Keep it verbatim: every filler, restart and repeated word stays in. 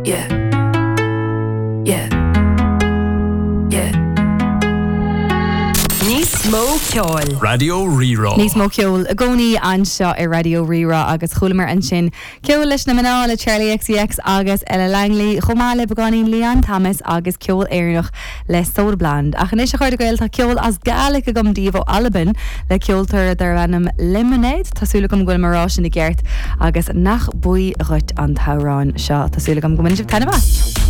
Yeah. Yeah. Yeah. Níos mó ceoil. Raidió Rí-Rá. Níos mó ceol i gcónaí anseo ar Raidió Rí-Rá agus chualamar ansin ceol leis na mná le Charli XCX agus Ella Langley chomh maith le beagáinín Leon Thomas agus ceol Éireannach le Soda Blonde. Ach anois a chairde Gael tá ceol as Gàidhlig agam daoibh ó Albain le ceoltóir darb ainm Lemonade Tásúla gom ghfuil marrá sin i gceart agus nach buí dhuit an t-amhrán seo Tásúla gom go sibh taitneamh.